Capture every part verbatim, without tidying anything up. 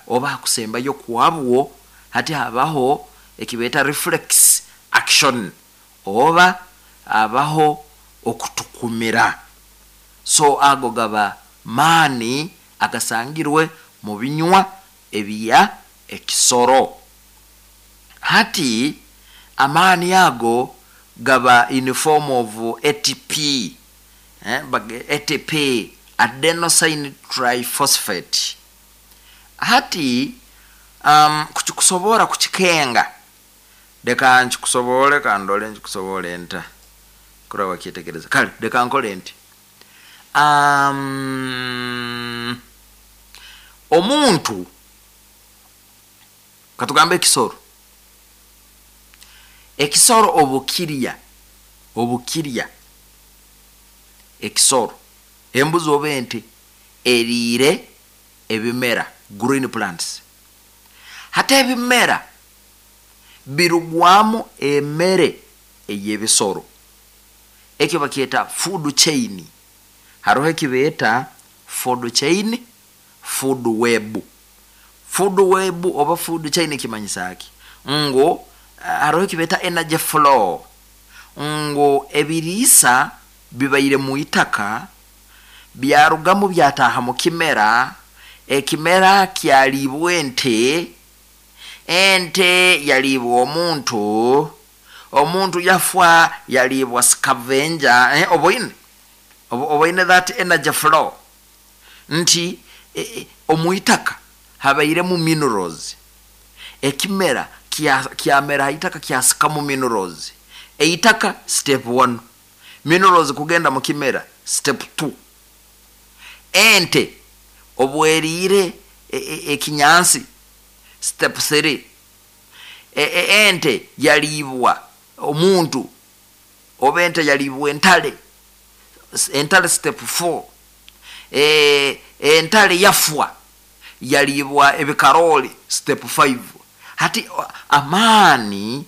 Oba hakusembayo kwabwo hati habaho ekibeeta reflex action, oba abaho okutukumira. So ago gaba maani agasangirwe mu binywa ebya ekisoro. Hati amaani ago gaba in form of A T P, eh, A T P, adenosine triphosphate. Hati um, kukikusobora kukikenga, leka nkikusobole, kandole nkikusobole nta kuraba wakyetegereza. Kale leka nkole nti um, omuntu, katugambe ekisoro ekisoro obukirya obukirya ekisoro, embuzi oba ente eriire ebimera, green plants. Hati ebimera birugwamu emere ey'ebisoro, ekyo bakyeta food chain. Haroho ekibeeta food chain, food web. Food web oba food chain kimanyisa ki? Ngu haroho ekibeeta energy flow, ngu ebiriisa bibaire mu itaka, byarugamu, byataaha mu kimera, ekimera kyaliibwa ente, ente yaliibwa omuntu, omuntu yafwa, yaliibwa scavenger, eh, oboine oboine that energy flow nti eh, omuitaka habairemu minerals, ekimera kyamera haitaka, kyasikamu minerals. Eitaka step one, minerals kugenda mu kimera step two, ente obweriire ekinyansi step three, ente yaliibwa omuntu oba ente yaliibwa entale, entale step four, e, entale yafwa, yaliibwa ebikaroli step five. Hati amaani,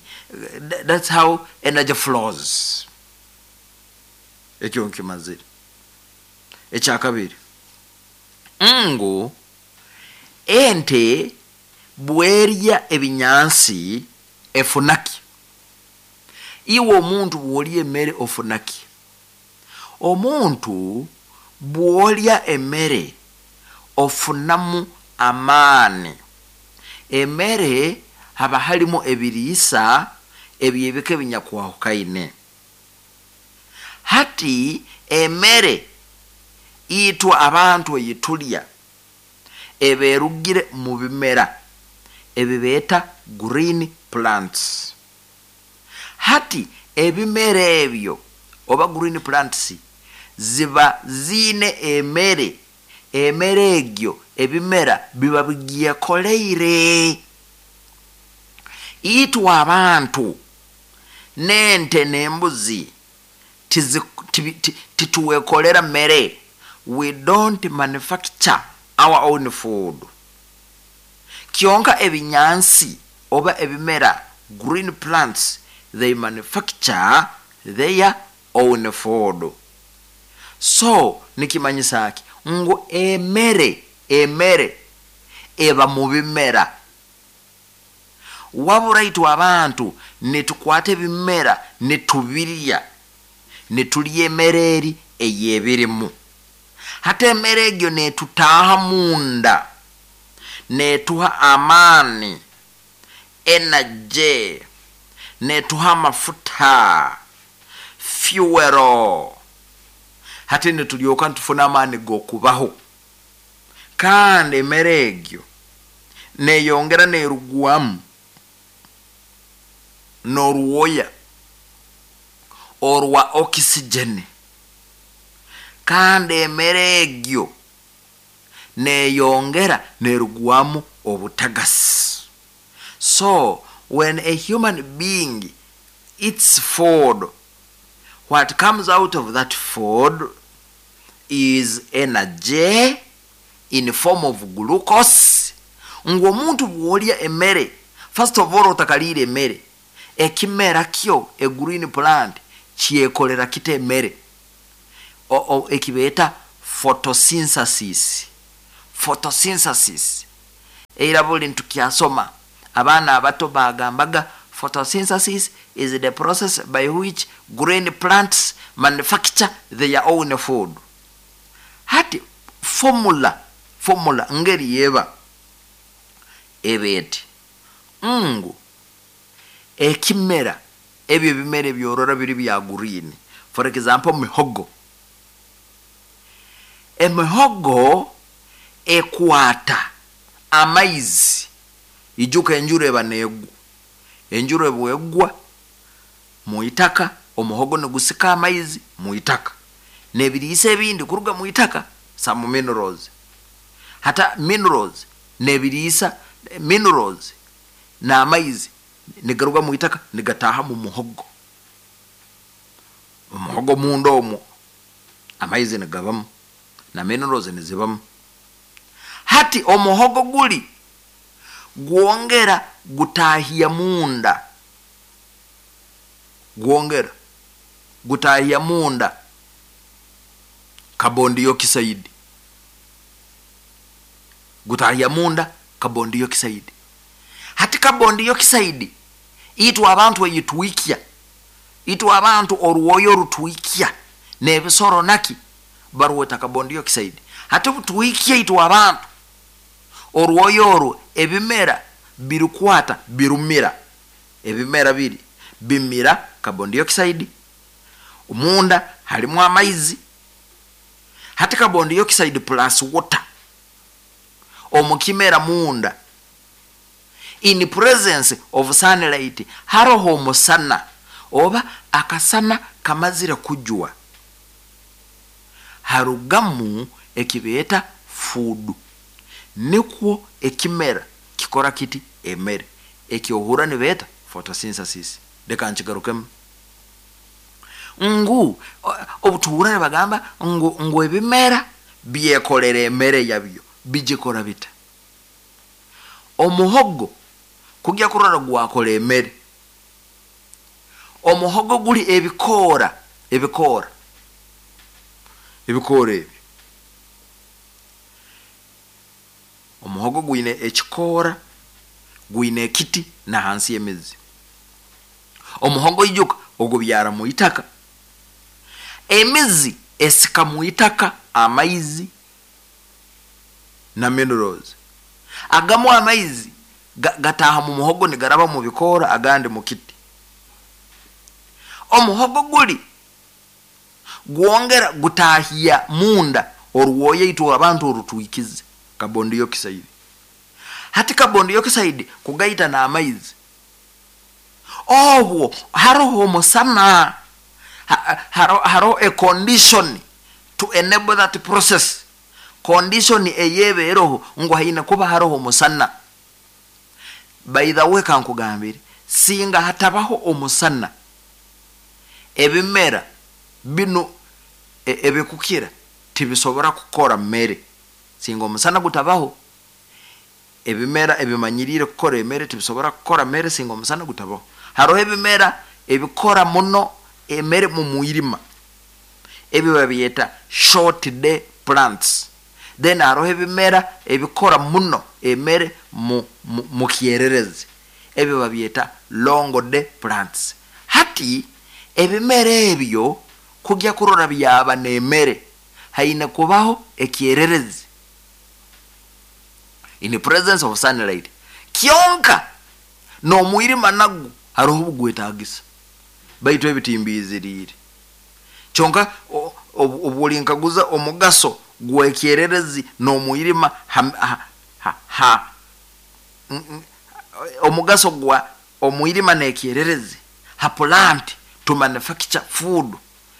that's how energy flows. Ekyo nkimazire. Ekyakabiri, ngu ente bwerya ebinyansi efunaki? Iwe omuntu bwolya emmere ofunaki? Omuntu bwolya emmere ofunamu amaani. Emmere haba halimu ebiriisa ebyebika ebinyakwahukayine. Hati emmere itwe abantu eyitulya eberugire mu bimera ebibeeta green plants. Hati ebimera ebyo oba green plants ziba ziine emere. Emere egyo ebimera biba bigyekoleire. Itwe abantu n'ente n'embuzi tituwekolera mere. We don't manufacture our own food. Kyonka ebinyansi oba ebimera, green plants, they manufacture their own food. So nikimanyisa ki? Ngu emere emere eba mu bimera. Wabura itwe abantu nitukwata ebimera nitubirya, nitulya emere eri eyebirimu. Hati emere egyo netutaaha munda, netuha amaani, energy, netuha amafuta, fuel. Hati nitulyoka nitufuna amaani g'okubaho. Kandi emere egyo neyongera nerugwamu n'orwoya orwa oxygen. Kandi emere egyo neyongera nerugwamu obutagasi. So when a human being eats food, what comes out of that food is energy in form of glucose. Ngu omuntu bwolya emmere, first of all, otakaliire emmere, ekimera kyo, a green plant, kyekolera kita emmere, ekibeeta photosynthesis. Photosynthesis. Era buli ntukyasoma, abaana abato bagambaga photosynthesis is the process by which green plants manufacture their own food. Hati formula formula ngeri yeba eba eti ngu ekimera, ebyo ebimera ebyorora biri bya green, for example mihogo, emihogo ekwata amaizi. Ijuka enjura eba negwa, enjura ebwegwa muitaka, omuhogo nigusika amaizi muitaka nebiriisa ebindi kuruga muitaka, some minerals, hata minerals nebiriisa, minerals n'amaizi nigaruga muitaka nigataha mu muhogo. Omuhogo munda omwo amaizi nigabamu na minerals nizibamu. Hati omuhogo guli gwongera gutahya munda, gwongera gutahya munda carbon dioxide, gutahya munda carbon dioxide. Hati carbon dioxide itwe abantu eyitwikya, itwe abantu orwoyo rutwikya, n'ebisoro naki barweta carbon dioxide. Hati butwikya itwe abantu orwoyo orwo, ebimera birukwata birumira, ebimera biri bimira carbon dioxide, munda halimu amaizi. Hati carbon dioxide plus water omukimera munda in presence of sunlight, haroho omusana oba akasana kamazire kujwa, harugamu ekibeeta food. Nikwo ekimera kikora kiti emere ekyohura nibeeta photosynthesis. Leka nkigarukemu ngu obutuhura nibagamba ngu ngu ebimera byekolera emere yabyo, bigikora bita? Omuhogo kujya kurora gwakora emere, omuhogo guli ebikoora, ebikoora ebikoora ebyo, omuhogo gwine ekikoora, gwine ekiti na hansi y'emizi. Omuhogo ijuka ogubyara mu itaka, emizi esika mu itaka amaizi na minerals. Agamu amaizi gataha mu muhogo nigaraba mu bikoora, agandi mu kiti. Omuhogo guli gwongera gutahya munda orwoya itwe abantu orutwikize, carbon dioxide. Hati carbon dioxide kugaita n'amaizi, obwo haroho omusana, haroho a condition to enable that process. Condition eyebeeroho ngu haine kuba haroho omusana. By the way, kankugambire, singa hatabaho omusana, ebimera bino ebikukira tibisobora kukora mmere. Singa omusana gutabaho, ebimera ebimanyirire kukora emere tibisobora kukora mere singa omusana gutabaho. Haroho ebimera ebikora muno emere mu mwirima, ebyo babyeta short day plants. Then haroho ebimera ebikora muno emere mu, mu, mu kyererezi, ebyo babyeta long day plants. Hati ebimera ebyo kujya kurora byaba n'emere, haine kubaho ekyererezi in the presence of sunlight. Kyonka n'omwirima nagwo haroho obugwetagisa, baitu ebitimbiziriire. Kyonka obulinkaguza omugaso gwekyererezi n'omwirima ha, ha, ha, ha, omugaso gwa omwirima n'ekyererezi ha plant to manufacture food,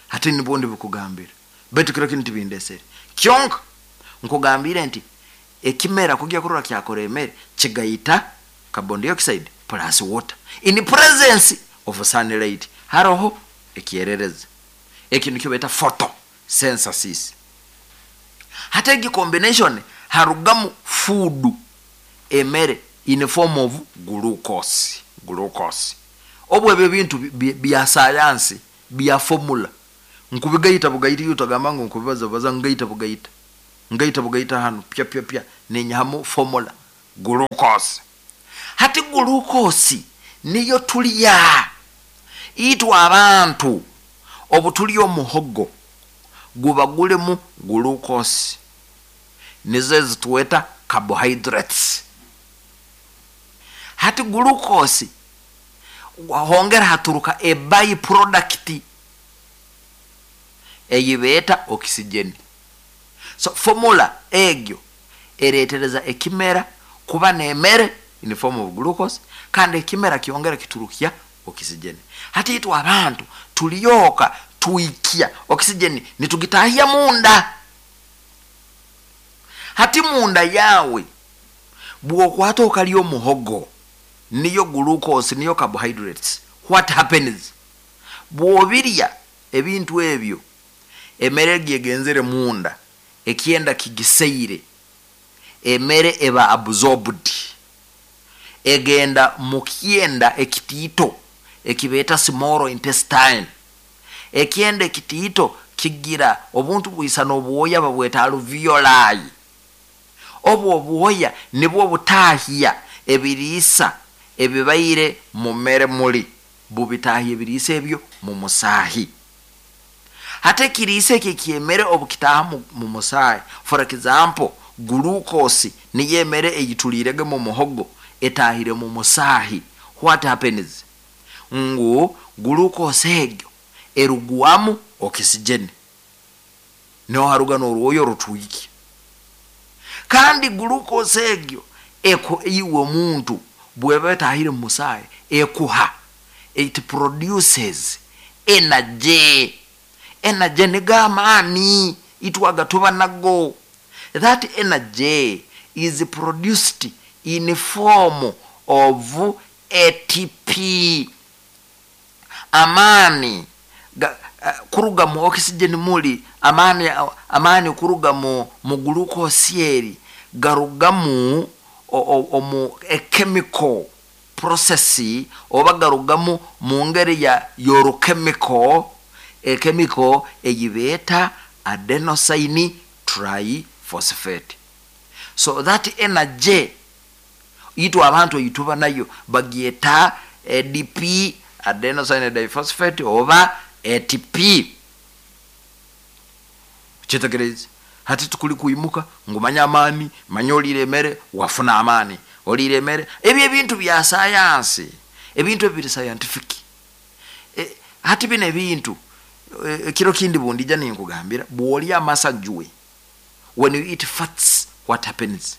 hati nibwo ndibikugambira, baitu kiro kinu tibindesere. Kyonka nkugambire nti ekimera kujya kurora kyakora emere kigaita carbon dioxide plus water in presence of sunlight, haroho ekyererezi, eki nikyo beta photosynthesis. Hata egi combination harugamu food, emere in form of glucose. Glucose obwo ebyo bintu bya sayansi bya formula, nkubigaita bugaita, iyo utagamba ngu nkubibaza baza, ngaita bugaita, ngaita bugaita hano pya pya pya nenyahamu formula. Glucose. Hati glucose niyo tulya itwe abantu. Obu tulya omuhogo guba gulemu glucose, nizo ezitweta carbohydrates. Hati glucose hongera haturuka a by product eyibeeta oxygen. So formula egyo eretereza ekimera kuba nemere in form of glucose, kandi ekimera kyongera kiturukya oxygen. Hati itwe abantu tulyoka tuikya oxygen nitugitahya munda. Hati munda yawe bwokwata okalya omuhogo, niyo glucose, niyo carbohydrates, what happens? Bwobirya ebintu ebyo, emere egyo egenzere munda, ekyenda kigiseire, emere eba absorbed, egenda mu kyenda ekitiito ekibeeta small intestine. Ekyenda ekitiito kigira obuntu bwisana obwoya babweta alveoli. Obwo obwoya nibwo butahya ebiriisa ebibaire mu mmere, muli bubitahya ebiriisa ebyo mu musaahi. Hati ekiriisa ekyo ekyemere obukitaaha mu musaahi, for example glucose niyo emere eyitulirege mu muhogo etahire mu musaahi, what happens? Ngu glucose egyo erugwamu oxygen, niho haruga n'orwoya orutwikya. Kandi glucose egyo eko iwe omuntu bweba etahire mu musaahi ekuha, it produces energy. Energy nigo amaani itwaga tuba nago. That energy is produced in form of A T P. Amaani ga, uh, kuruga mu oxygen muli amaani, amaani kuruga mu, mu glucose eri garugamu omu chemical process, oba garugamu mu ngeri ya yorochemical, echemical eyibeeta adenosine triphosphate. So that energy itwe abantu eyituba nayo bagyeta A D P, adenosine diphosphate, oba A T P. Kitegereze, hati tukuli kuimuka ngu manya amaani, manya olire emere wafuna amaani, olire emere. Ebyo ebintu bya sayansi, ebintu ebiri scientific. E, hati bino ebintu ekiro kindi bundija ninkugambira, bwolya amasajwe, when you eat fats, what happens?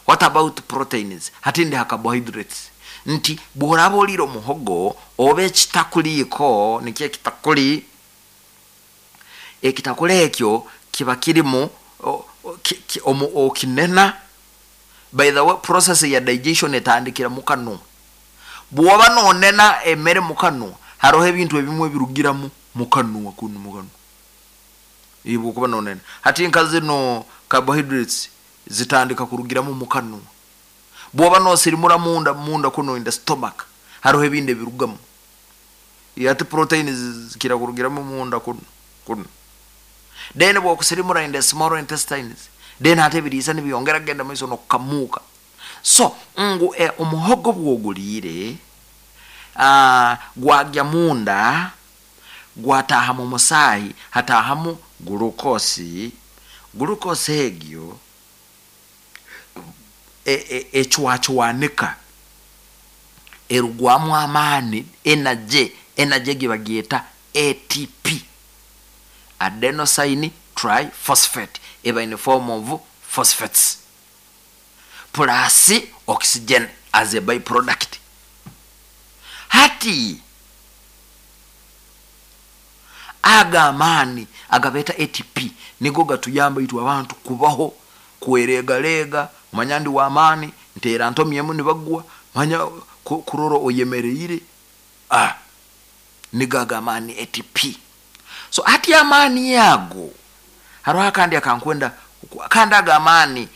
What about proteins? Hati ndi ha carbohydrates, nti bw'oraba olire omuhogo oba ekitakuliiko, nikyo ekitakuli, ekitakuli ekyo kiba kirimu okinena. By the way, process ya digestion etandikira mukanwa. Bw'oba nonena emere mukanwa, haroho ebintu ebimu ebirugiramu mukanwa kunu, mukanwa ibwokuba nonena. Hati nka zino carbohydrates zitandika kurugiramu mukanwa. Bwoba nosirimura munda, munda kuno in the stomach, hariho ebindi ebirugamu. Ati protein zikira kurugiramu munda kuno kuno. Then bwokusirimura in the small intestines, then ate ebiriisa nibyongera genda maiso nokukamuka. So ngu eh, omuhogo bwogulire uh, gwagya munda, gwataha mu musaahi, hatahamu glucose. Glucose egyo ecwacwanika, erugwamu amaani, energy. Energy egyo bagyeta A T P, adenosine triphosphate, eba in form of phosphates plus oxygen as a byproduct. Hati aga amaani agabeeta A T P nigo gatuyamba itwe abantu kubaho, kweregalega, manya ndi wamaani, nteera ntomyemu nibagwa, manya kurora oyemereire. Ah, nigo aga amaani, A T P. So hati amaani yago hariho akandi akankwenda, kandi aga amaani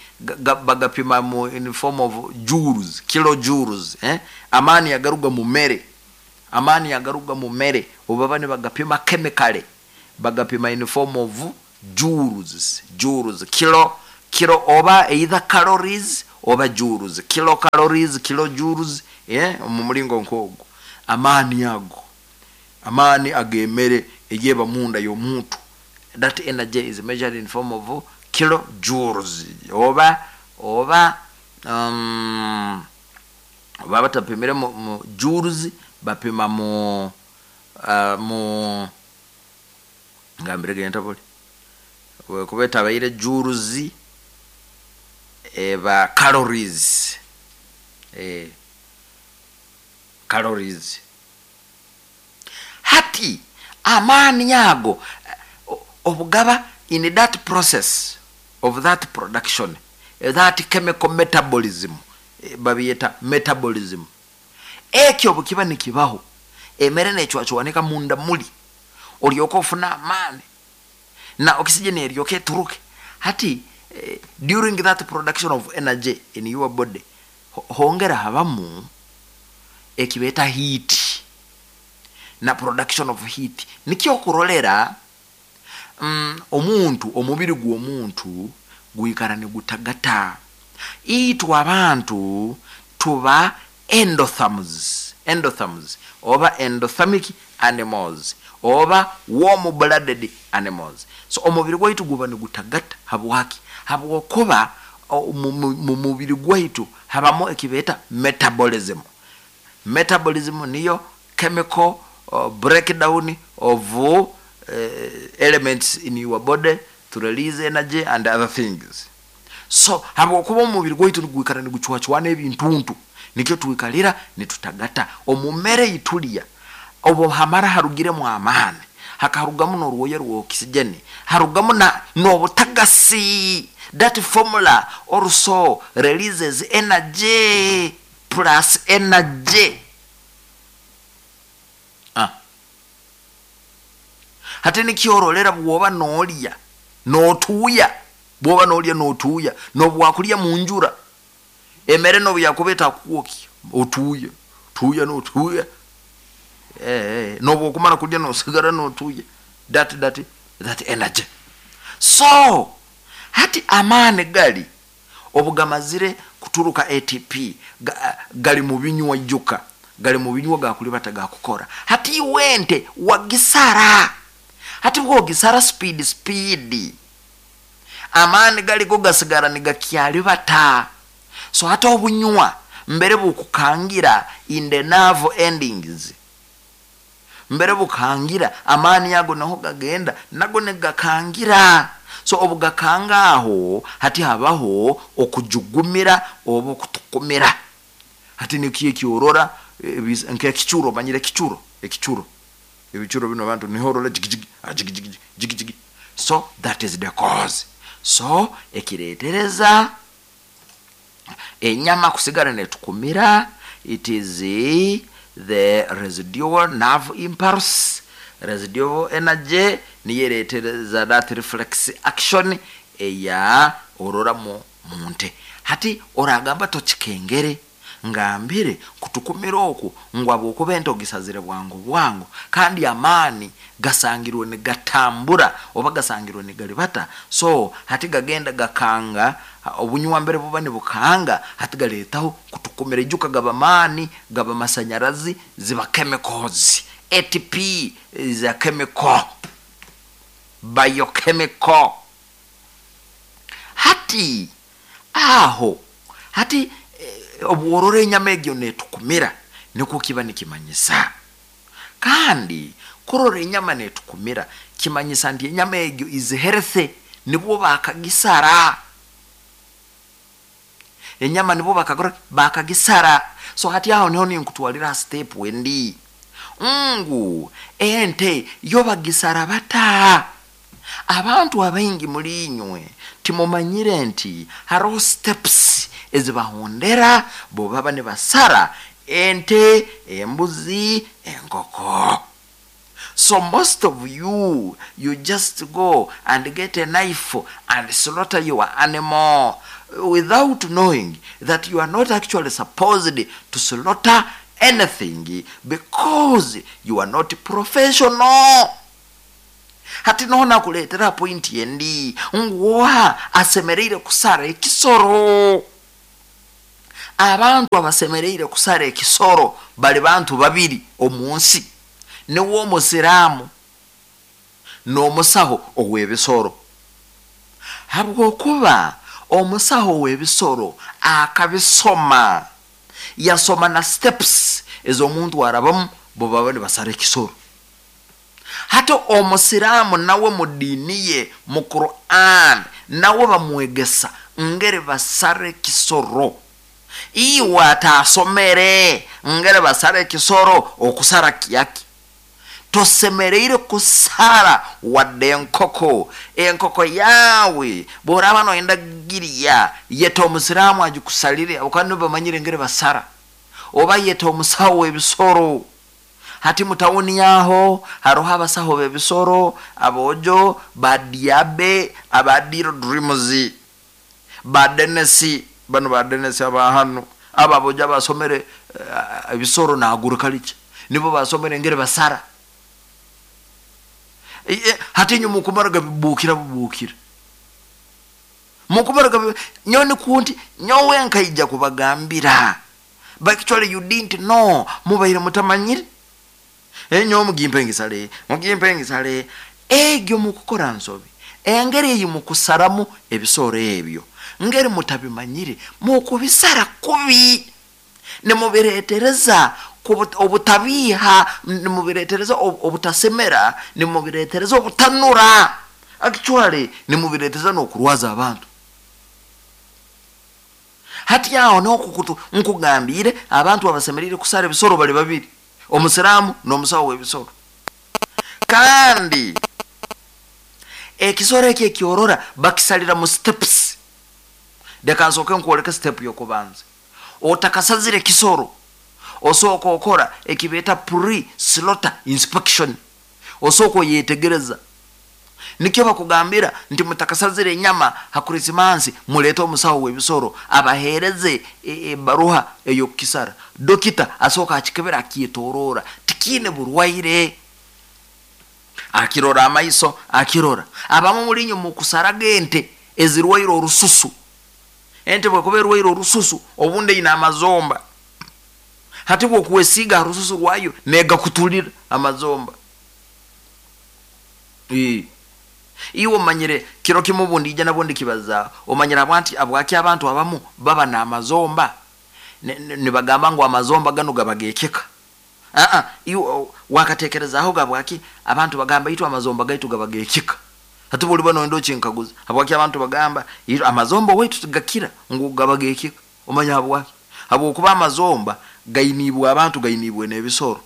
bagapima mu in form of joules, kilojoules, eh? Amaani agaruga mu mere, amaani agaruga mu mere obaba nibagapima chemically bagapima in form of joules, joules, kilo Kilo oba either calories oba joules, kilo calories, kilo joules, eh, mu mulingo nk'ogwo. Amaani ago, amaani ag'emmere egyeba munda y'omuntu, that energy is measured in form of kilo joules oba oba um, oba batapimire mu, mu joules, bapima mu uh, mu ngambire genta buli kuba etabaire joules, eba calories, eh, calories. Hati amaani ago obugaba in that process of that production, that chemical metabolism, babiyeta metabolism, ekyo bwekiba nikibaho, emere necwacwanika munda muli, olyoka ofuna amaani na oxygen eryoka eturuke. Hati eh, during that production of energy in your body, hongera habamu ekibeta heat na production of heat. Nikyo kurolera mm, omuntu, omubiri gw'omuntu gwikara nigutagata. Itwe abantu tuba endotherms, endotherms oba endothermic animals oba warm blooded animals. So omubiri gwaitu guba nigutagata. Habwaki? Habwokuba mu mubiri gwaitu habamu ekibeta metabolism. Metabolism niyo chemical uh, breakdown of uh, elements in your body to release energy and other things. So habwokuba omubiri gwaitu nigwikara nigucwacwana ebintuntu, nikyo twikalira nitutagata. Omumere itulya obo hamara harugiremu amaani, hakarugamu n'orwoya rwa oxygen, harugamu na n'obutagasi. That formula also releases energy plus energy. Ah. Hati nikyorolera bwoba n'olya n'otuuya, bwoba n'olya n'otuuya, n'obwakulya mu njura, emere n'obu yakuba etakukwokya otuuya, tuuya n'otuuya, eh, n'obwokumara kulya n'osigara n'otuuya. that, that, that energy. So hati amaani gali obugamazire kuturuka A T P ga, gali mu binywa juka, gali mu binywa gakulibata gakukora. Hati iwente wagisara, hati bwogisara speed speed, amaani galiko gasigara nigakyalibata. So hati obunywa mbere bukukangira in the nerve endings, mbere bukangira amaani yago naho gagenda nago negakangira. So obugakanga aho, hati habaho okujugumira oba okutukumira. Hati nikiye kyorora nk'ekicuro, manyire ekicuro, ekicuro, ebicuro bino abantu niho orora jigijigi jigijigi jigijigi. So that is the cause. So ekiretereza enyama kusigara netukumira, it is the residual nerve impulse, residual energy niyeretereza that reflex action eya orora mu munte. Hati oragamba tokikengere ngambire kutukumira oku ngu abwokuba ente ogisazire bwangu bwangu, kandi amaani gasangirwe nigatambura oba gasangirwe nigalibata. So hati gagenda gakanga obunywa mbere buba nibukanga, hati galetaho kutukumira. Ijuka gaba maani, gaba masanyarazi, ziba chemicals. A T P is a chemical, biochemical. Hati aho hati obworora enyama egyo netukumira, nikwo kiba nikimanyisa. Kandi kurora enyama netukumira kimanyisa nti enyama egyo is healthy, nibwo bakagisara enyama, nibwo bakagora bakagisara. So hati aho niho ninkutwalira step wendi ngu ente yo bagisara bata. Abantu abaingi mulinywe timumanyire nti hariho steps ezibahondera bo baba nibasara ente, embuzi, enkoko. So most of you, you just go and get a knife and slaughter your animal without knowing that you are not actually supposed to slaughter anything because you are not professional. Hati noho nakuleetera pointi endi ngu asemereire kusara ekisoro. Abantu abasemereire kusara ekisoro bali bantu babiri omunsi, niwo omusiraamu n'omusaho ow'ebisoro. Habwokuba omusaho w'ebisoro akabisoma, yasoma na steps ez'omuntu arabamu bwe baba nibasara ekisoro. Hati omusiraamu nawe mu diini ye, mu Quran, nawe bamwegesa ngeri basara ekisoro. Iwe atasomere ngeri basara ekisoro, okusara kyaki? Tosemereire kusara wadde enkoko. Enkoko yawe bworaba noyenda girya, yeta omusiraamu agikusalire, habwokuba bamanyire ngeri basara, oba yeta omusaho w'ebisoro. Hati mutawuni yaho haroho abasaho b'ebisoro, abojo badiabe, abadiro dreams, badenesi bano, badenesi abahano aba abojo abasomere uh, ebisoro na agriculture, nibo basomere ngeri basara. E, e, hati nyo mukumara gabibukira bubukira mukumara gabi nyoni kunti nyowe nkaija kubagambira, but actually you didn't know, mubaire mutamanyire. Enyo mugimpe ngisale, mugimpe ngisale egyo mukukora nsobi. Engeri eyi mukusaramu ebisoro ebyo ngeri mutabimanyire, mukubisara kubi, nimubiretereza obutabiha, nimubiretereza obutasemera, nimubiretereza obutanura, actually nimubiretereza n'okurwaza abantu. Hati aho nokukutu nkugambire abantu abasemerire kusara ebisoro bali babiri, omusiraamu n'omusawo w'ebisoro. Kandi ekisoro ekyo ekyorora bakisalira mu steps. Leka nsooke nkwoleke step y'okubanza. Otakasazire ekisoro osooka okora ekibeeta pre slaughter inspection, osooka oyetegereza. Nikyo bakugambira nti mutakasazire enyama ha Krisimansi, muleete omusawo w'ebisoro abaheereze ebaruha ey'okukisara. Dokita asooka akikebera, akyetorora tikiine burwaire, akirora amaiso, akirora. Abamu mulinyo mukusaraga ente ezirwaire orususu. Ente bwekuba erwaire orususu obundi eine amazomba, hati bwokuwesiiga ha rususu rwayo negakutulira amazomba. Iwe omanyire kiro kimu obundi ija nabwo ndikibaza, omanyire abwanti abwaki abantu abamu baba n'amazomba nibagamba ngu amazomba gano gabagekeka. Aa iwe wakatekerezaho gabwaki abantu bagamba itu amazomba gaitu gabagekeka? Hati buli bano ndo chinkaguza habwaki abantu bagamba amazomba waitu tugakira ngu gabagekeka? Omanya habwaki? Habwokuba amazomba gainibwe abantu, gainibwe n'ebisoro.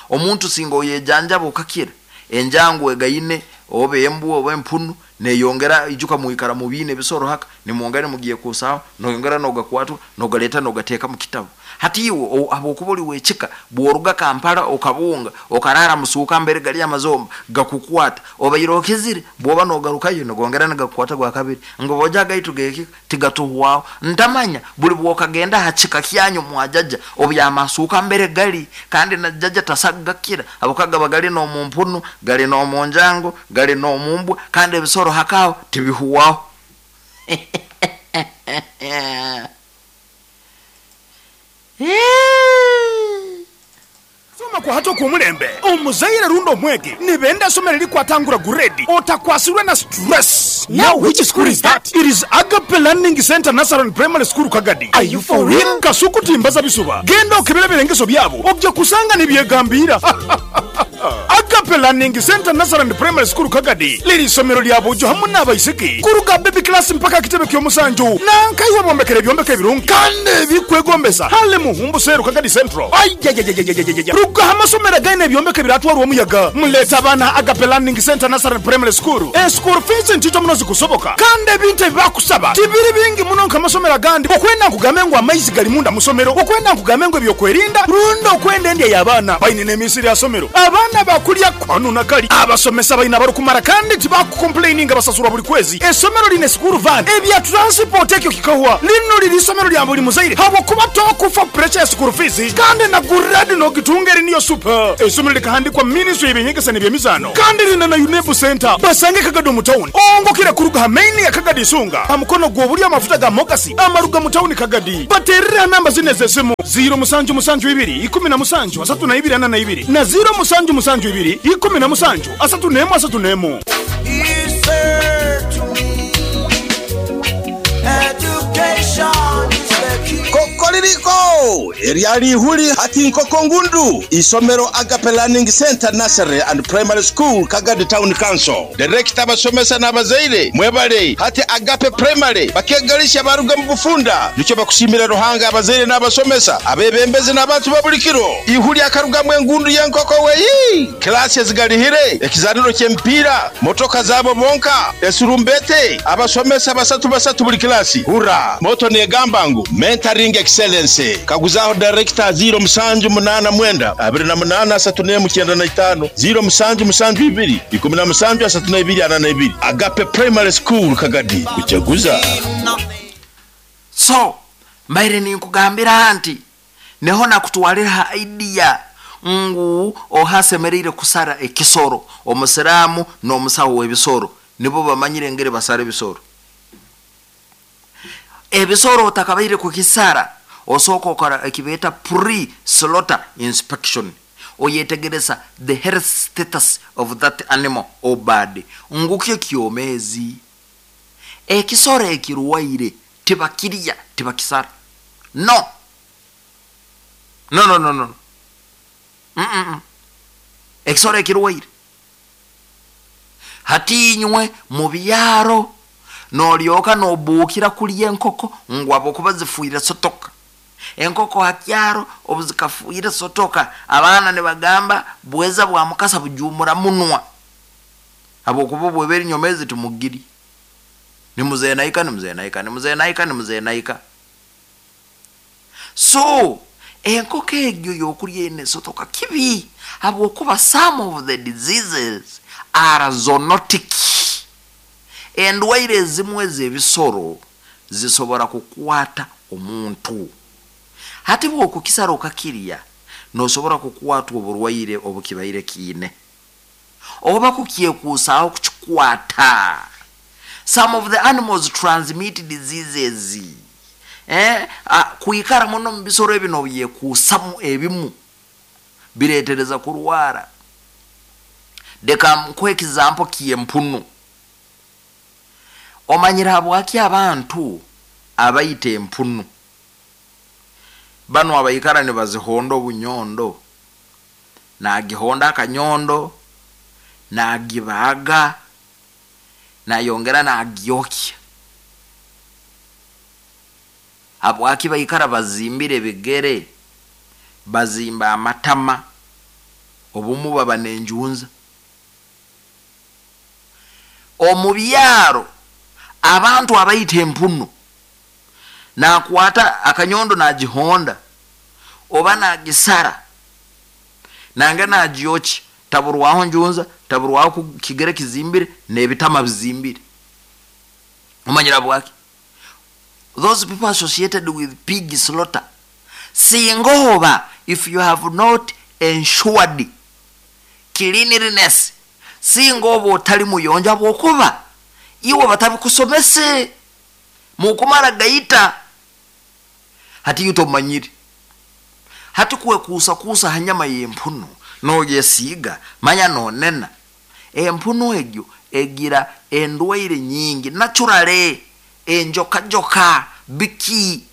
Omuntu singa oyejanjaba okakira enjangu egaine oba embwa oba empunu neyongera ijuka muikara mubine ebisoro haka nimwongera mugiye kusaho noyongera nogakwatwa nogaleta nogateka mu kitabu. Hati iwe habwokuba oli wekika bworuga Kampala okabunga okarara musuuka mbere gali amazomba gakukwata, obaire okizire bwoba nogarukayo nogongera nagakukwata gwa kabiri ngo boja gaitu geki tigatuhwaho. Ntamanya buli bwokagenda hachika kyanyu mwajaja obyamasuuka mbere gali kandi na jaja tasagakira abokagaba gali no mumpunu gali no munjango gali no mumbwa kandi ebisoro hakao tibihuwaho. Soma kwa hato kumulembe omuzaire rundo omwege nibenda somero likwatangura guredi otakwasirwe na stress. Now which school is that? It is Agape Learning Center Nasaron Primary School Kagadi. Are you for real? Kasuku timbaza bisuba genda okebera birengeso byabo ojja kusanga nibyegambira. Agape Learning Center Nasaran Primary School Kagadi liri somero lya bujo hamwe n'abaisiki kuruga baby class mpaka kitebe ky'omusanju nankaiwe bombekere byombeke ebirungi kandi bikwegombesa hale muhumbu seru Kagadi Central. Ayayayayayayaya ruga amasomero gaine ebyombeke biratwarwa omuyaga. Muleta abaana Agape Learning Center Nasaran Primary School. E school fees ntito muno zikusoboka kandi ebintu ebibakusaba tibiri bingi muno nk'amasomero agandi. Okwenda nkugambe ngu amaizi gali munda musomero, okwenda nkugambe ngu ebyokwerinda rundo okwenda endya y'abaana baine n'emisiri ya somero abaana bakulya Kwanu nakali abasomesa balina barukumara kandi tibakukomplaininga basasurwa buli kwezi. Esomero line school van ebya transport ekyo kikahwa. Lino liri isomero lya buli muzaire habwokuba tokufa pressure ya school fees kandi na grade no gitungeri niyo super. Esomero likahandikwa ministry y'ebyengesa n'ebyemizaano kandi lina na UNEB center basange Kagadi mu town ongokera kuruga main ya Kagadi Sunga amukono gwobuli amafuta ga Mogasi amaruga mu town Kagadi baterera namba zine z'esimu zero musanju musanju ibiri ikumi na musanju asatu na ibiri ana na ibiri na zero musanju musanju ibiri ikumi na musanju asatu nemu asatu nemu. Kokoririko eryali ihuli hati nkoko ngundu isomero Agape Learning Center Nursery and Primary School Kagadi Town Council. Director abasomesa n'abazaire mwebale hati Agape Primary bakegalisha baruga mu bufunda nicyo bakusimira Ruhanga abazaire n'abasomesa abebembezi n'abantu babulikiro ihuli akarugamwe engundu y'enkoko weyi klasi ezigalihire ekizaniro ky'empiira motoka zabo bonka esurumbete abasomesa basatu basatu buli klasi hura moto negamba ngu mentoring excellence kaguzaho director zero musanju munana mwenda abiri na munana asatu nemu kyenda na itano zero musanju musanju ibiri ikumi na musanju asatu na ibiri ana na ibiri. Agape Primary School Kagadi kuchaguza. So mbaire ninkugambira nti neho nakutwalira idea ngu ohasemerire kusara ekisoro omusiramu n'omusawo w'ebisoro nibo bamanyire ngere basara ebisoro. Ebisoro otakabaire kukisara osoko okora ekibeta pre slaughter inspection oyetegereza the health status of that animal or bird ngukyo kyomezi. Ekisoro ekiruwaire tibakiriya tibakisara. No no no no no mm -mm. Ekisoro ekiruwaire hatinywe mu byaro nolyoka nobukira kulya enkoko ngwabo kuba zifuire sotoka. Enkoko hakyaro obuzikafuire sotoka abaana ne bagamba bweza bwa mukasa bujumura munwa abo kuba bweberi nyomezi tumugiri ni muzenaika ni muzenaika ni muzenaika ni muzenaika. So enkoko egyo yokulya ene sotoka kibi abo kuba some of the diseases are zoonotic. Endwaire ezimwe z'ebisoro zisobora kukwata omuntu. Hati bw'okukisara okakirya nosobora kukwatwa oburwaire obukibaire kiine oba kukyekuusaaho kukikwata. Some of the animals transmit diseases. Eh, kuikara muno mu bisoro ebino byekuusamu ebimu bireetereza kurwara. Deka nkuhe example ky'empunu. Omanyira habwaki abantu abayita empunu bano abayikara ne bazihonda obunyondo nagihonda akanyondo nagibaga nayongera nagyokya. Habwaki bayikara bazimbire ebigere bazimba amatama obumu baba nenjunza. Omubyaro abantu abayita empunu nakwata akanyondo nagihonda oba nagisara nange nagyoki taburwaho njunza taburwaho kigere kizimbire n'ebitama bizimbire. Omanyira bwaki those people associated with pig slaughter singoba if you have not ensured cleanliness singoba otali muyonja bwokuba iwe batabikusomese mukumara gaita hati yutomanyiri hati kuwe kusa kusa hanyama y'empunu noyesiga manya nonena empunu egyo egira endwaire nyingi naturale enjoka joka biki.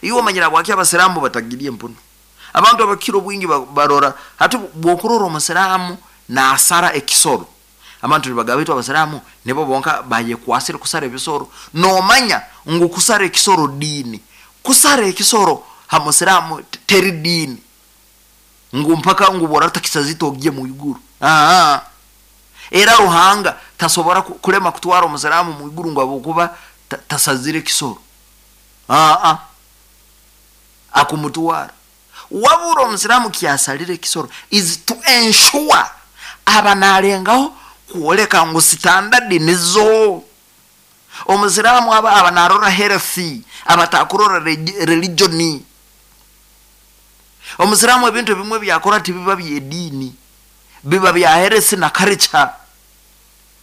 Iwe manyira bwaki abasiramu batagirie empunu. Abantu abakiro bwingi barora hati bwokurora omusiramu na asara ekisoro abantu nibagabitu abasiramu nibo bonka bayekwasire kusara ebisoro nomanya ngu kusara ekisoro dini kusara ekisoro ha musiramu teri dini ngu mpaka ngu borata kisazito ogiye mu iguru. Ah, era Ruhanga tasobora kulema kutwara omusiramu mu iguru ngo abokuba tasazire kisoro. Ah ah akumutwara wabura omusiramu kiasalire kisoro is to ensure Aba nalengaho kwoleka ngu standard nizo. Omusiraamu aba aba narora health, abatakurora religion. Omusiraamu ebintu ebimwe byakora tibiba by'ediini, biba bya health na culture.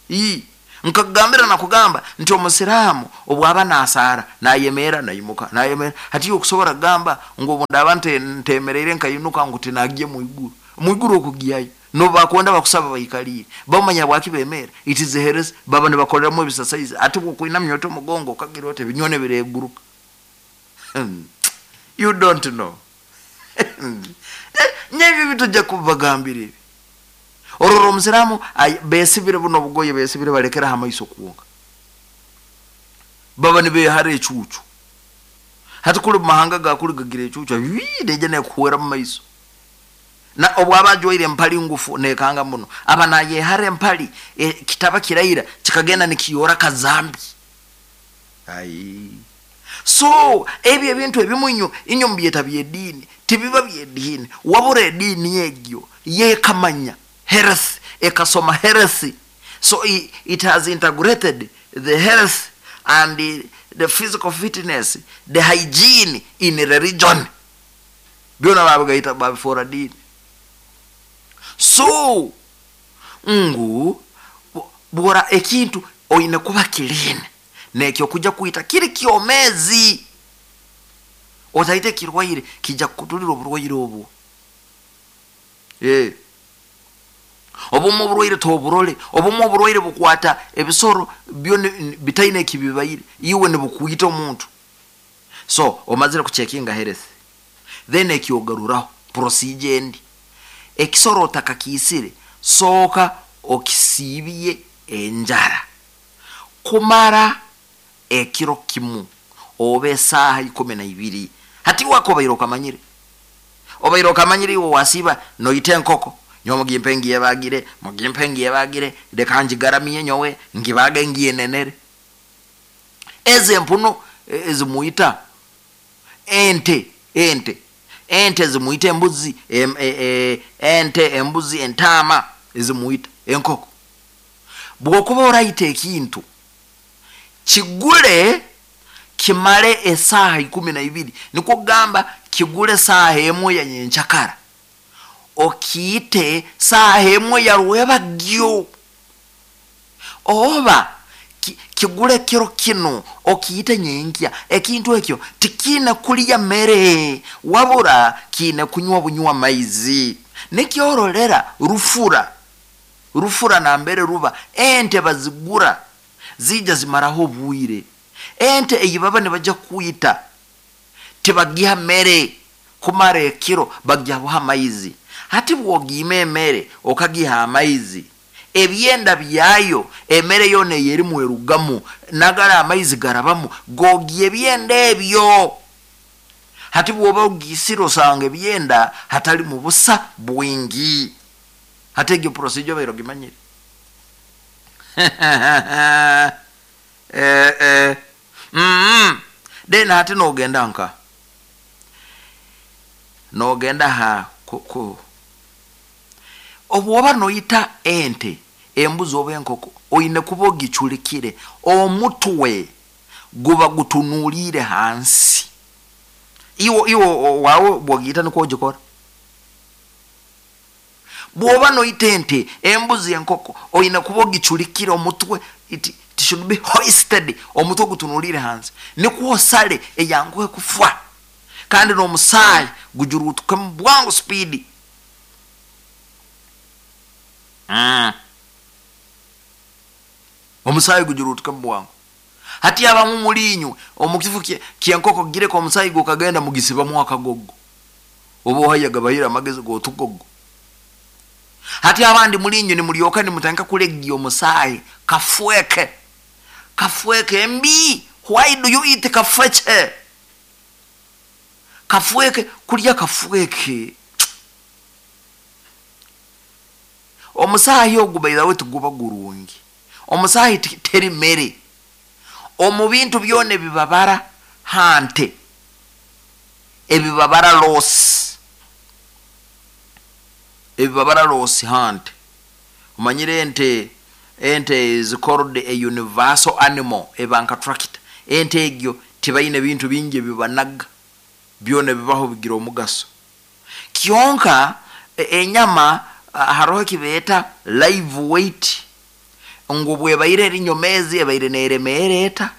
I nkagambira na kugamba nti omusiraamu obwaba nasaara nayemera nayimuka nayemera, hati okusobola kugamba ngu obundaba ntemereire nkayinuka ngu tinagiye mwiguru mwiguru okugiyayo no bakwenda bakusaba bayikalire bamanya bwaki bemera. It is health, baba nibakoleramu ebisasaizi ate bwokwinamya oti omugongo okagira oti ebinyone bireguruka. You don't know. Nyebyo bitujja kubagambira ebi. Ororo omusiraamu besibire buno obugoye besibire balekera hamaiso kuwonga, baba nibehara ecuucu. Hati kuli mumahanga gakuli gagira ecuucu neija nekuhwera mumaiso. Na obwaba ajwaire empali ngufu nekanga muno, aba nayehara empali e, kitaba kiraira kikagenda nikiyora kazambi. Ai so ebyo ebintu ebimu inyo inyo mubyeta by'ediini tibiba by'ediini, wabura ediini egyo yekamanya health, ekasoma health. So it, it has integrated the health and the, the physical fitness, the hygiene in religion. Byona babigaita babifora dini. So ngu bora ekintu oine kuba clean nekyo kuja kuita kiri kyomezi, otaite kirwaire kija kutulira oburwaire obwo. Eh obumu oburwaire toburole, obumu oburwaire bukwata ebisoro byo bitaine ekibibaire iwe nibukuita omuntu. So omazire kuchekinga health, then ekyogaruraho procedure endi ekisoro otakakisire soka okisibye enjara kumara ekiro kimu oba esaaha ikumi na ibiri. Hati wako obaire okamanyire, obaire okamanyire iwe wasiba noita enkoko nyowe mugimpe ngiyebagire mugimpe ngiyebagire leka ngigaramiye nyowe ngibage ngiyenenere. Eze empuno ezimuita ente ente ente zimuita embuzi em, e, e, ente embuzi entama ezimuita enkoko. Bwokuba oraita ekintu kigule kimale esaaha ikumi na ibiri, nikwo kugamba kigule saaha emwe ya nyenchakara okiite saaha emwe ya rwebagyo, oba ki, kigule kiro kino okiite nyenkya. Ekintu ekyo tikine kulya mere wabura kine kunywa bunywa maizi. Nikyorolera rufura rufura nambere ruba ente bazigura zija zimaraho obwire. Ente eyibaba nibaja kuita tibagiha mere kumara ekiro, bagiha amaizi. Hati bwogima emere okagiha amaizi, ebyenda byayo emere yona eyerimu erugamu nagara amaizi garabamu gogiye ebyenda ebyo. Hati bwoba ogisira osanga ebyenda hatali mu busa bwingi. Hati egyo procedure bairo gimanyire. eh eh mm then hati nogenda nka nogenda ha ku, ku. Obwoba noyita ente embuzi oba enkoko oine kuba ogiculikire omutwe guba gutunuulire hansi. Iwo iwo wawe bwogiyita nikwo ogikora. Bwoba noyita ente embuzi enkoko oine kuba ogiculikire omutwe, it, it should be hoisted, omutwe gutunuulire hansi nikwo osale eyanguhe kufa, kandi n'omusaayi gujurutukemu bwangu speed. Mm. Omusaayi gujurutukemu bwangu. Hati abamu mulinywe omukifu kyenkoko gireka omusaayi gukagenda mugisibamu akagogo, oba ohaya gabahira amagezi gotugogo. Hati abandi mulinywe nimulyoka nimutandika kulegia omusaayi kafweke kafweke mbi. Why do you eat kafweke? Kafweke kulya kafweke omusaayi ogwo by the way tuguba gurungi. Omusaayi teri mere. Omu bintu byona ebibabara hante ebibabara loss ebibabara loss hante Omanyire ente, ente is called a universal animal, eba nka tractor. Ente egyo tibaine bintu bingi ebibanaga, byona bibaho bigira omugaso. Kyonka enyama haroho kibeeta live weight, ngu bwebaire eri nyomezi ebaire neremeera eta,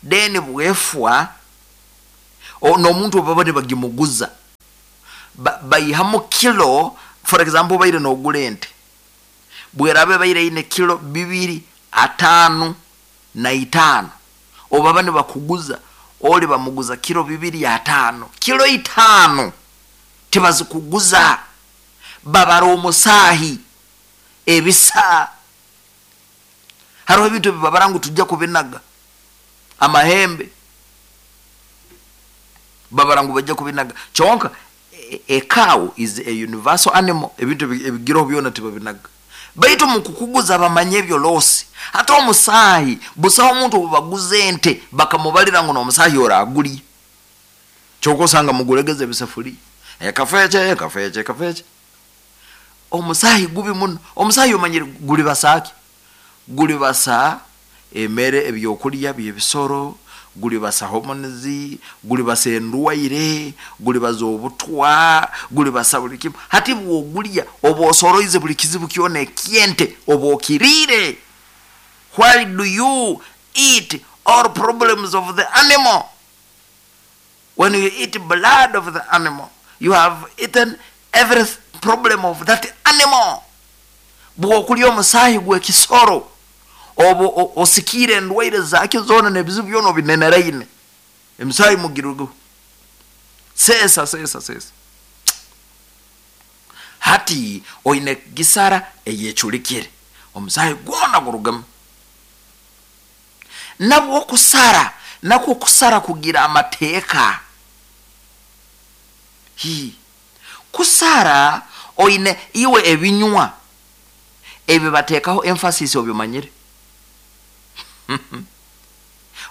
then bwefwa n'omuntu baba nibagimuguza baihamu kilo. For example, obaire nogula ente, bweraba ebaire eine kilo bibiri ataano na itaano, obaba nibakuguza oli bamuguza kilo bibiri ataano. Kilo itaano tibazikuguza, babara omusaahi ebisa. Hariho ebintu ebibabara ngu tujja kubinaga, amahembe babara ngu bajja kubinaga. Kyonka a cow is a universal animal, ebintu ebigiraho byona tibabinaga, baitu mukukuguza bamanye ebyo losi. Hata omusaahi busaho omuntu obubaguza ente bakamubalira ngu n'omusaahi oragulye. Kyonka osanga mugulegeza ebisafuriya, ekafece ekafece ekafece. Omusaahi gubi muno. Omusaahi omanyire guli basaaki, guli basa emere, ebyokulya byebisoro, guli basa hormones, guli basa endwaire, guli baza obutwa, guli basa buli kimu. Hati bwogulya oba osoroize buli kizibu kyona ekyente oba okiriire. Why do you eat all problems of the animal? When you eat blood of the animal, you have eaten every problem of that animal. Bwokulya omusaahi gw'ekisoro oba osikiire endwaire zakyo zoona n'ebizibu byona obineneraine. Emisaahi mugirugo seesa seesa seesa. Hati oine gisara eyeculikire, omusaahi gwona gurugamu. Nabwo okusara nakwo kusara kugira amateeka. Hi kusara oine iwe ebinywa ebyo bateekaho emphasis, obimanyire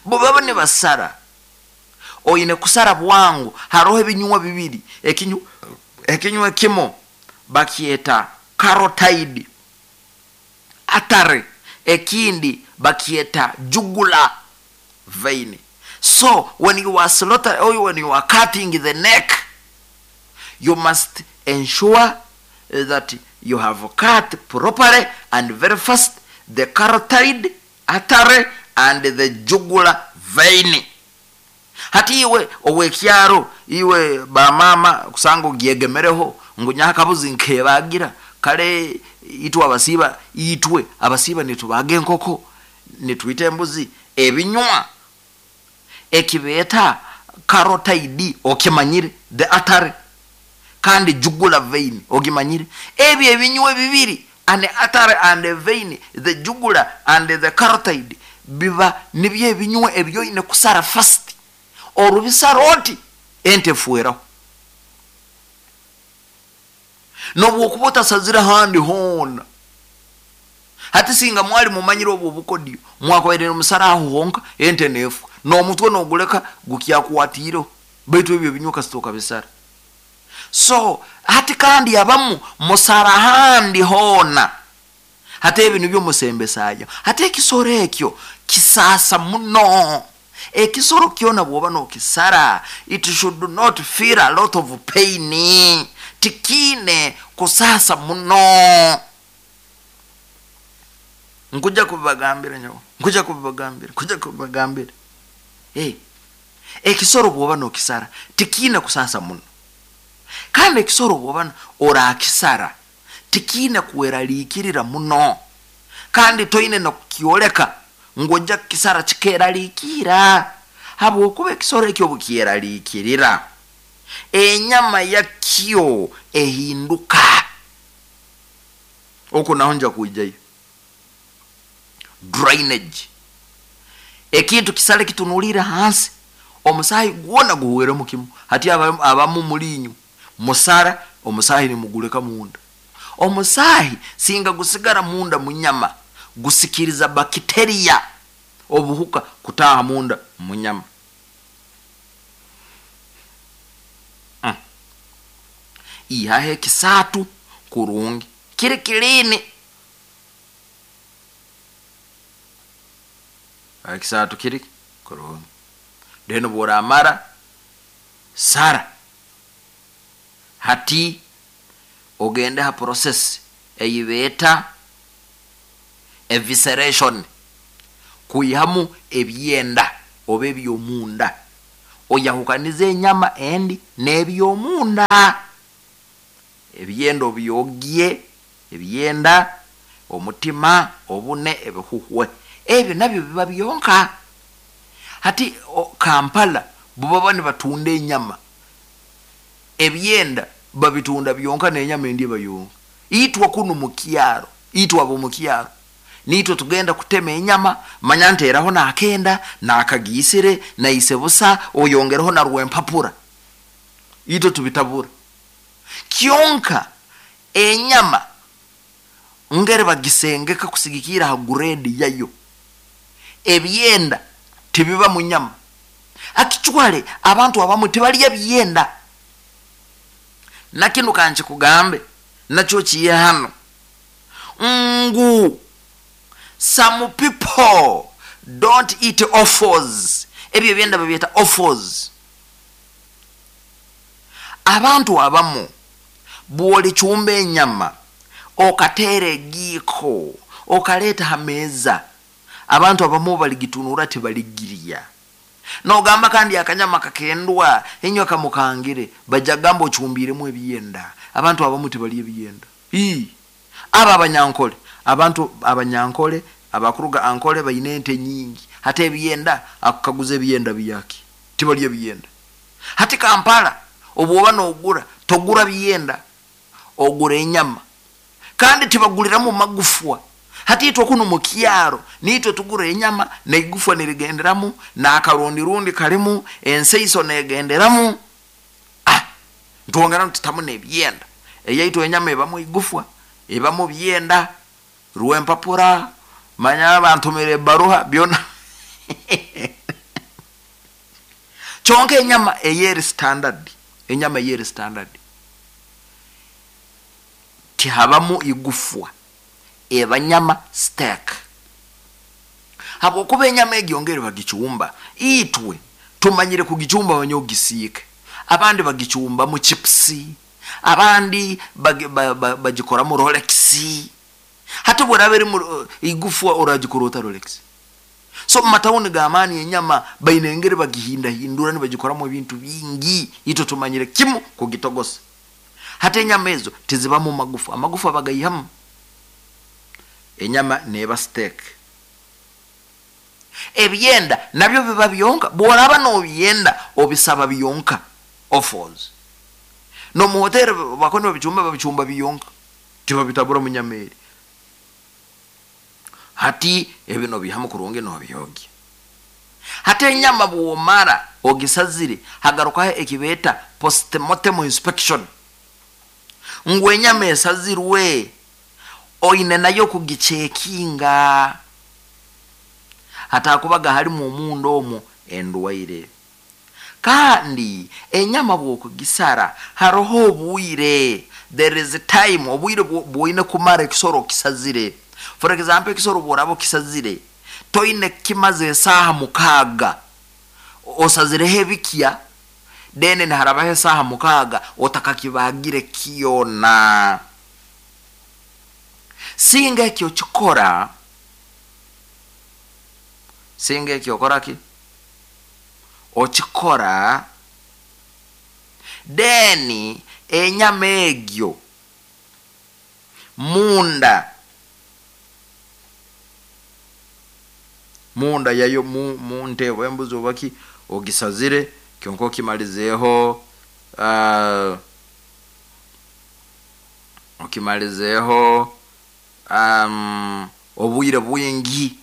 bo baba nibasara, oine kusara bwangu. Haroho ebinywa bibiri, ekinywa ekinywa kimo bakyeta carotid artery, ekindi bakyeta jugular vein. So when you are slaughter or when you are cutting the neck, you must ensure that you have cut properly and very fast the carotid artery and the jugular vein. Hati iwe owekyaro, iwe bamama kusanga ogyegemereho ngu nyakabuzi nkebagira kale, itwe abasiiba, itwe abasiiba nitubaga enkoko, nitwita embuzi. Ebinywa ekibeeta carotid okimanyire, the artery, kandi jugular vein ogimanyire. Ebyo ebinywa bibiri, an artery and a vein, the jugular and the carotid, biba nibyo ebinywa ebyoine kusara fast. Orubisara oti ente efueraho, nobwokuba otasazire handi hoona. Hati singa mwali mumanyire obwo obukodyo, mwakwaire omusara aho honka, ente neefwa n'omutwe noguleka gukyakwatiireho, baitu ebyo ebinywa kasita okabisara. So hati kandi abamu musara handi hoona, hati ebyo nibyo musembesaayo. Hati ekisoro ekyo kisaasa muno. Ekisoro kyona bwoba nokisara, it should not feel a lot of pain, tikiine kusaasa muno. Nkuja kubibagambira nyowe, nkuja kubibagambira, nkuja kubibagambira. Hey, ekisoro bwoba nokisara tikiine kusaasa muno, kandi ekisoro bwoba orakisara tikiine kweraliikirira muno, kandi toine nokukyoleka ngu ojja kukisara kikeraliikira, habwokuba ekisoro ekyo obukyeraliikirira enyama yakyo ehinduka. Okwo naho nja kwijayo drainage. Ekintu kisale kitunulire hansi, omusaahi gwona guhweremu kimu. Hati abamu mulinyu musara omusaahi nimuguleka munda. Omusaahi singa gusigara munda munyama, gusikiriza bakiteria obuhuka kutaha munda munyama. Mm. Ihahe ekisatu kurungi kiri kilini. Ekisaato kiri kurungi. Then bw'oramara sara, hati ogende ha process eyibeeta evisceration, kuihamu ebyenda oba ebyomunda, oyahukaniza enyama endi n'ebyomunda. Ebyenda obyogye, ebyenda, omutima, obune, ebihuhwe, ebyo nabyo biba byonka. Hati o, Kampala bubaba nibatunda enyama, ebyenda babitunda byonka n'enyama endi eba yonka. Itwe kunu mukyaro, itwe abo mukyaro nitwe tugenda kutema enyama, manya nteraho nakenda nakagiisire naise busa, oyongereho na rwempapura, itwe tubitabura. Kyonka enyama ngere bagisengeka kusigikira ha grade yayo, ebyenda tibiba mu nyama. Akichwale abantu abamu tibalya byenda. Nakino kanchi kugambe nakyo kiye hano ngu some people don't eat offals. Ebyo byenda babyeta offals. Abantu abamu bw'olichumba enyama okateera egiiko okaleeta ha meeza, abantu abamu baligitunura tibaligirya. Nogamba kandi akanyama kakendwa enywa kamukangire, bajja gamba ochumbiremu ebyenda. Abantu abamu tibalya ebyenda. Ii aba abanyankole, abantu abanyankole abakuruga ankole bayine ente nyingi, hata ebyenda akukaguza ebyenda byaki, tibalya ebyenda. Hati Kampala obwoba nogura togura byenda, ogura enyama, kandi tibaguliramu magufwa. Hati itwe kuno mukyaro nitwe tugura enyama neigufwa nirigenderamu n'akarundi rundi kalimu enseiso negenderamu. Ah, ntwongera ntutamu n'ebyenda. Eyaitwe enyama ebamu igufwa, ebamu byenda, rwempapura, manya abantu baruha byona. Kyonka enyama eyeri standard, enyama eyeri standard tihabamu igufwa, eba nyama steak. Habwokuba enyama egyo ngeri bagichumba, itwe tumanyire kugichumba banyogisiike, abandi bagichumba mu chipsi, abandi bagikora mu Rolex. Hata bw'oraba eri mu igufwa oragikorota Rolex. So mu matawuni g'amaani enyama baine engeri bagihindahindura nibagikoramo ebintu bingi, itwe tumanyire kimu kugitogosa. Hata enyama ezo tizibamu magufa, amagufa bagayihamu. Enyama neba steak. Ebyenda nabyo biba byonka, bw'oraba n'obyenda obisaba byonka, offals. No mu hoteli bakoni babichumba babichumba byonka, tibabitabura mu nyama eri. Hati ebino bihamu kurungi n'obyogi. Hati enyama bw'omara ogisazire hagarukaho ekibeta postmortem inspection. Ngu enyama esazirwe oine nayo kugichekinga, hatakubaga halimu omundo omwo endwaire. Kandi enyama bw'okugisara haroho obwire, there is a time, obwire bwoine kumara ekisoro kisazire. For example, ekisoro bw'oraba okisazire toine kimaze esaaha mukaaga osazireho ebikya, then niharabaho esaaha mukaaga otakakibagire kyona. Singa ekyo kikora, singa ekyo okora ki okikora, then enyama egyo munda munda yayo mu, mu ntebo embuzi obaki ogisazire kyonka okimalizeeho, uh, okimalizeeho um, obwire bwingi,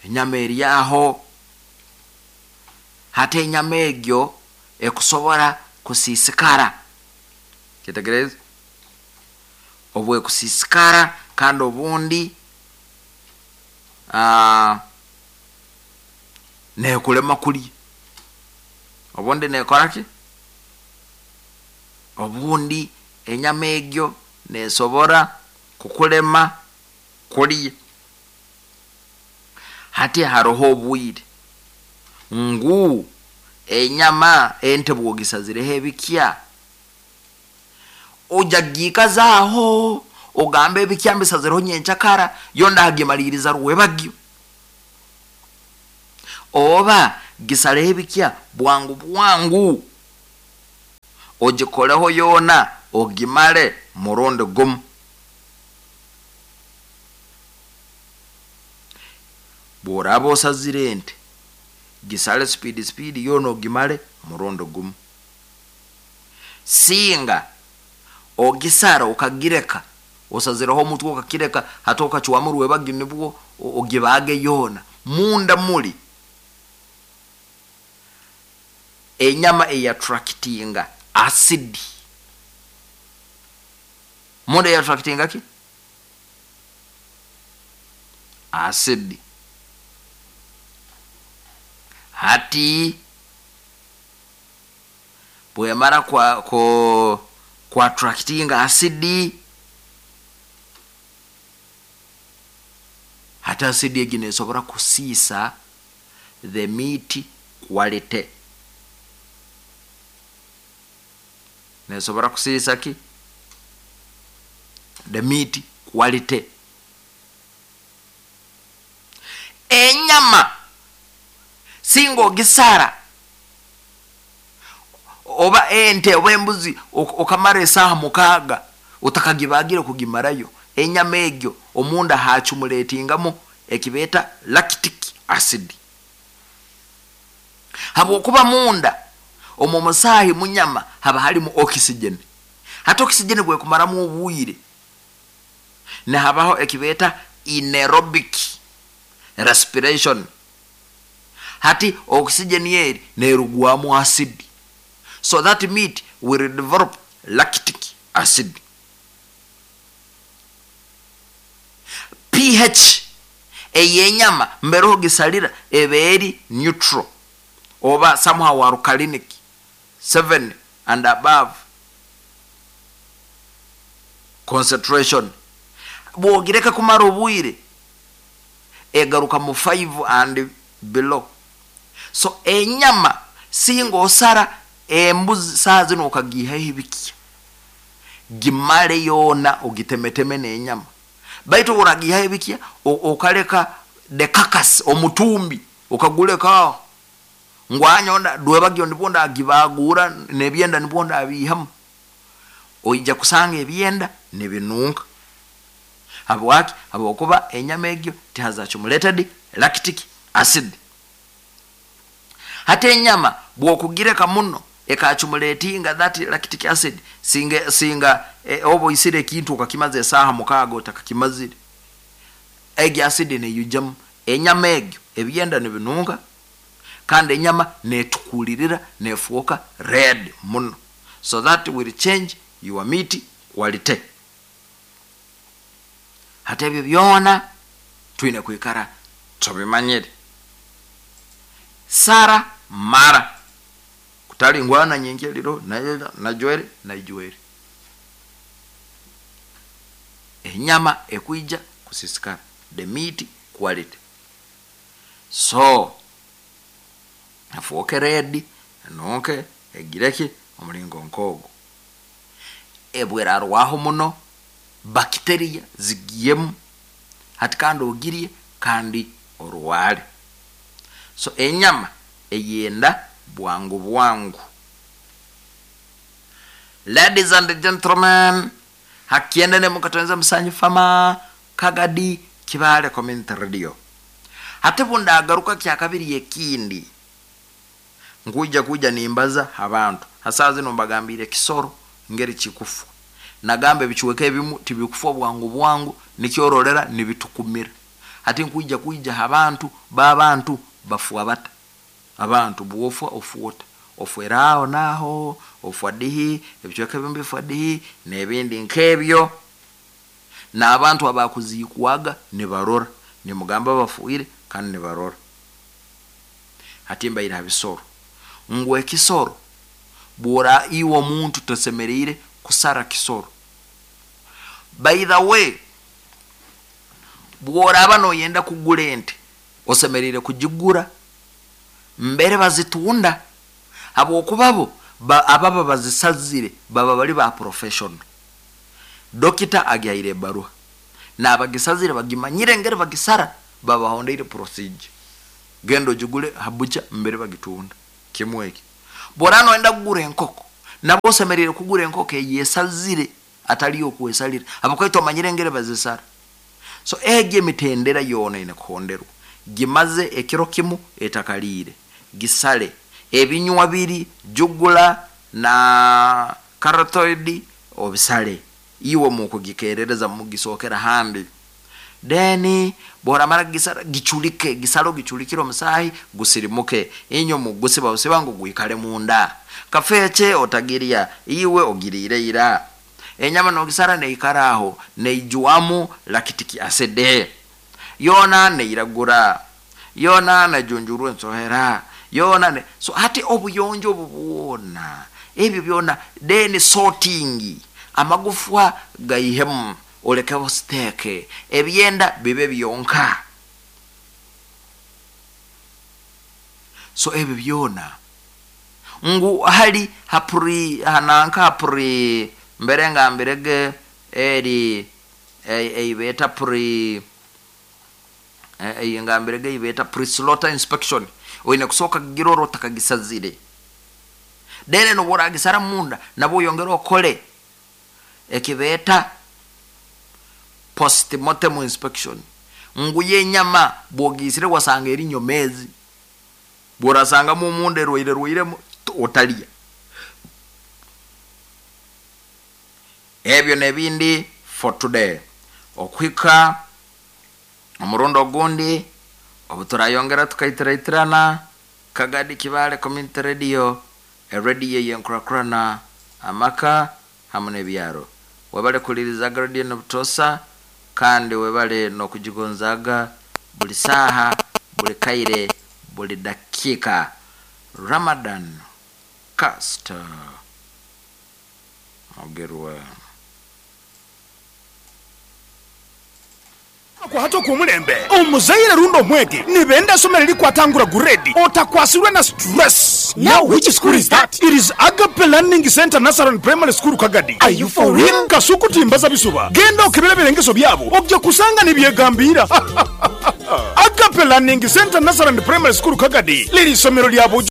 enyama eri aho. Hata enyama egyo ekusobora kusiisikara, kitegereza obwe kusiisikara, kandi obundi uh, nekulema kulya, obundi nekora ki, obundi enyama egyo nesobora kukulema kulya. Hati haroho obwire ngu enyama ente bwogisazireho ebikya, ojagikazaaho ogambe ebikya mbisazireho nyenkyakara, yo ndagimaliriza rwebagyo, oba gisareho ebikya bwangu bwangu, ogikoleho yoona ogimale murundi gumu. Bworaba osazire ente, gisale speed speed yoona ogimale murundi gumu. Singa ogisara okagireka, osazireho omutwe okakireka, hati okacwamu rwebagyo nibwo ogibage yoona, munda muli enyama eyattractinga acid. Munda eyattractinga ki? Acid. Hati bwemara kwa ko kwa attractinga acid, hati acid egi nesobora kusiisa the meat quality. Nesobora kusiisa ki? The meat quality. Enyama singa ogisara oba ente oba embuzi okamara esaha mukaaga otakagibagire kugimarayo, enyama egyo omunda hachumuletingamu ekibeta lactic acid. Habwokuba munda omu musaahi munyama haba halimu oxygen. Hati oxygen bwekumaramu obwire nehabaho ekibeta anaerobic respiration. Hati oxygen yeri nerugwamu acid, so that meat will develop lactic acid. pH eyenyama mberoho gisalira eberi neutral oba somehow alkalinic seven and above concentration. Bwogireka kumara obwire egaruka mu five and below. So enyama singa osara embuzi saa zino okagihaho ebikya, gimale yoona ogitemeteme n'enyama, baitu oragihaho ebikya okaleka the carcass omutumbi okaguleka ngwanyonda dwebagyo nibwo ndagibagura n'ebyenda nibwo ndabihamu, oija kusanga ebyenda nibinunka. Habwaki? Habwokuba enyama egyo tihaza accumulated lactic acid. Hati enyama bwokugireka muno ekachumulatinga that lactic acid, singa singa e, obo isire ekintu okakimaze esaha mukaaga otakakimazire, egyo acid neyujamu enyama egyo ebyenda nibinunka, kandi enyama netukulirira nefuoka red muno. So that will change your meat quality. Hati ebyo byona twine kwikara tubimanyire. Sara mara kutali ngwana nyenkeliro na najwere najwere enyama ekwija kusisikara, the meat quality. So afuoke red nonke egireki omulingo nkogo ebwerarwaho muno, bakteria zigiyemu, hati kandi ogirie kandi orwale. So enyama eyenda bwangu bwangu. Ladies and gentlemen, hakiende ne mukatonza Musanyi Fama Kagadi Kibale Community Radio. Hati bunda agaruka kya kabiri ekindi nkuja kuja nimbaza abantu hasa zino mbagambire kisoro ngeri kikufu nagambe bichiweke ebimu tibikufa bwangu bwangu nikyorolera nibitukumira. Hati nkuja kuja abantu babantu bafuwa bata abantu buofwa ofuota ofwerao naho ofwadihi ebichweka ebimu bifwadihi nebindi nkebyo, na abantu abakuzikwaga nibarora nimugamba bafuire kandi nibarora. Hati mbaira habisoro ngwe kisoro bora iwo muntu tosemereire kusara kisoro. By the way, bworaba noyenda kugula ente Osemerire kugigura mbere bazitunda, habwokubabo ba, ababa bazisazire baba bali ba professional. Dokita agihaire ebaruha n'abagisazire bagimanyire ngeri bagisara, babahondeire procedure. Genda ogigule habucha mbere bagitunda. Kimwe eki, bwora noenda kugura enkoko, nabo osemerire kugura enkoko eyesazire atali okwesalira, habwokuba omanyire ngeri bazisara. So egi emitendera yoona ine kuhonderwa. Gimaze ekiro kimu etakaliire, gisale ebinywa biri jugula na carotid obisale, iwe mukugikerereza mugisokera hambi. Then bworamara gisara gichulike, gisalo gichulikire omusahi gusirimuke, inyo mugusiba usiba ngu gwikale munda. Kafeche otagiria iwe ogirire ira. Enyama nogisara neikaraho neijuamu lactic acid, yona neiragura, yona nejunjurwa ensohera, yona ne... so hati obuyonjo obubuona ebyo byona. Then sorting amagufwa gaihemu olekeho steke, ebyenda bibe byonka. So ebyo byona ngu hali hapuri hananka hapuri mbere ngambirege eri eibeta pre eyingambirege ibeta pre slaughter inspection, oine kusoka giroro takagisazire. Dere no boragisara munda nabo yongera okole ekibeta postmortem inspection, nguye nyama bwogisire wasanga eri nyomezi, borasanga mu munde rwaire rwaire otalia. Ebyo nebindi for today. Okwika omurundo ogundi obuturayongera tukaitiratirana. Kagadi Kibale Community Radio, radio yenkurakurana amaka hamwe n'ebyaro. Webale kulirizaga radio nobutosa, kandi webale nokujigonzaga buli saha, buli kaire, buli dakika. Ramadan Caster Mugerwa. Kwa hato kumulembe omuzaire rundo mwege nibenda somero likwatangura grade otakwasirwe na stress. Now which school is that? It is Agape Learning Center Nursery and Primary School Kagadi. Are you for real? Kasuku timbaza bisuba, genda okebere birengeso byabo ojja kusanga nibyegambira. Agape Learning Center Nursery and Primary School Kagadi liri somero lyabo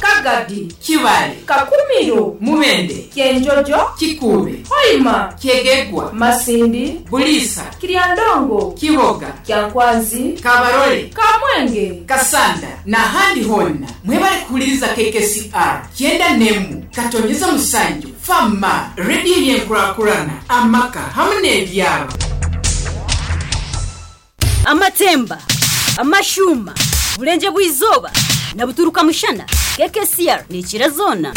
Kagadi, Kibale, Kakumiro, Mubende, Kyenjojo, Kikube, Hoima, Kyegegwa, Masindi, Bulisa, Kiryandongo, Kiboga, Kyankwanzi, Kabarole, Kamwenge, Kasanda n'ahandi honna. Mwebale kuwuliriza K K C R kyenda nemu katonyeza musanju fama radio yenkurakurana amaka hamwe n'ebyalo. Amatemba, amashuma, bulenje bw'izoba na buturuka mushana. K K C R ni kirazona.